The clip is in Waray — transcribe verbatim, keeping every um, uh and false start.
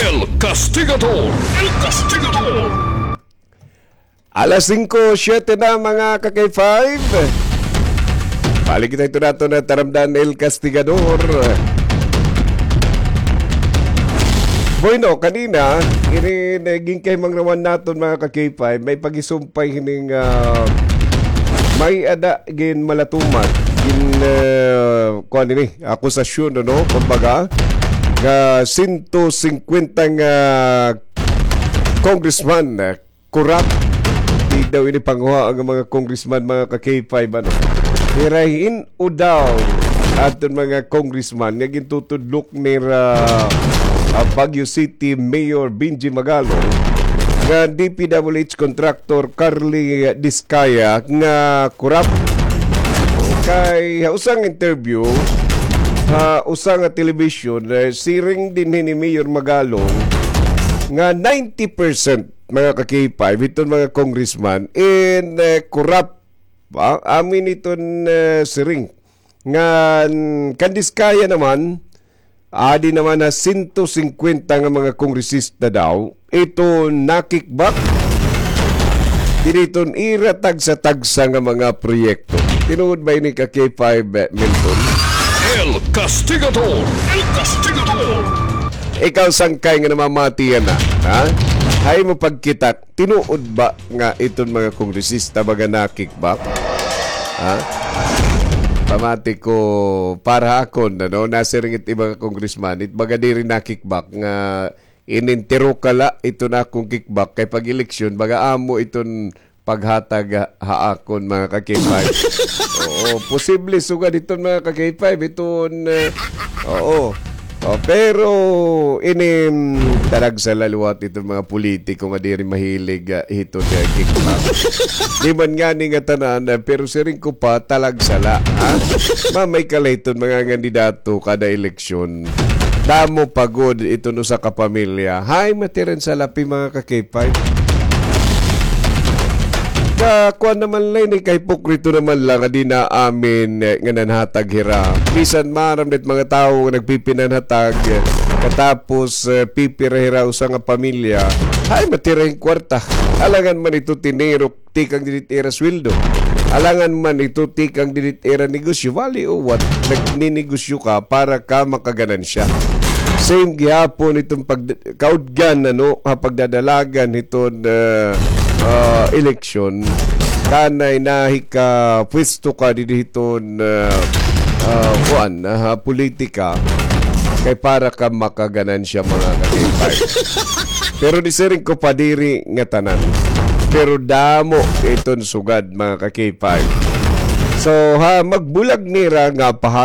El Castigador. El Castigador. Alas singko siyete na, mga ka-K five. Balik kita ito naton na taramdan, El Castigador. Bueno, kanina, ini, eh, ginkahimangnawan naton, mga ka-K five, may pagisumpay hining, ah, may-ada ginmalatuman, gin, ah, kuan ini, akusasyon, ano, kumbaga, nga sento singkwenta nga congressman, ah, corrupt. Di daw ini panguha nga mga congressman, mga ka-K five, ano. Hira hin-o daw aton mga congressman nga gintutudlok nira, ah, Baguio City Mayor Benji Magalong, nga D P W H contractor Carly Discaya nga corrupt. Kay ha usang interview ha usa nga television, eh, siring dinhi ni Mayor Magalong nga ninety percent, mga ka-K five, iton mga congressman in, eh, corrupt. Ba? Amin iton, eh, siring nga, mm, kan Discaya naman, adi naman na sento singkwenta nga mga kongresista daw ito na-kickback diri iton ira tagsa-tagsa nga mga proyekto. Tinuod ba ini, ka-K five, eh, Milton? El Castigador! El Castigador! Ikaw, sangkay nga namamati yana, ha? Hay mo pagkita, tinuod ba nga iton mga kongresista baga na-kickback? Ha? Pamati ko para ha akon, ano, nasiring it iba nga congressman, it baga diri na-kickback nga inintiro ka la iton akon kickback kay pag-eleksyon, baga amo iton paghatag ha, ha akon, mga ka-K five. Oo, posible sugad iton, mga ka-K five, iton, eh, oo. Oh, pero ini, mm, talagsa la liwat iton mga politiko nga diri mahilig, ah, hiton, ah, kickback. Di man ngani nga tanan, ah, pero siring ko pa, talagsa la, ha? Mamay ka la hiton mga kandidato kada eleksyon. Damo pa gud iton usa ka pamilya. Hay, matiran sa lapi, mga ka-K five. Ka, kuan naman la ini, kahipokrito naman la nga di naamin, eh, nga nanhatag hira. Bisan maaram dit mga tawo nga nagpipinanhatag, eh, katapos, eh, pipira hira usa nga pamilya. Hay, matira hin kwarta. Alangan man ito tinirok tikang didit ira sweldo. Alangan man ito tikang didit ira negosyo. Wali o what, nagninegosyo ka para ka makaganansya. Same gihapon itong pag-, kaudgan, ano, ha pagdadalagan hiton, ah, ah, eleksyon. Kanay nahikapwesto ka didi hiton, ah, ah, kuan, ah, ha politika. Kay para ka makaganansya, mga ka-K five. Pero di siring ko pa diri nga tanan. Pero damo iton sugad, mga ka-K five. So, ha, magbulag nira nga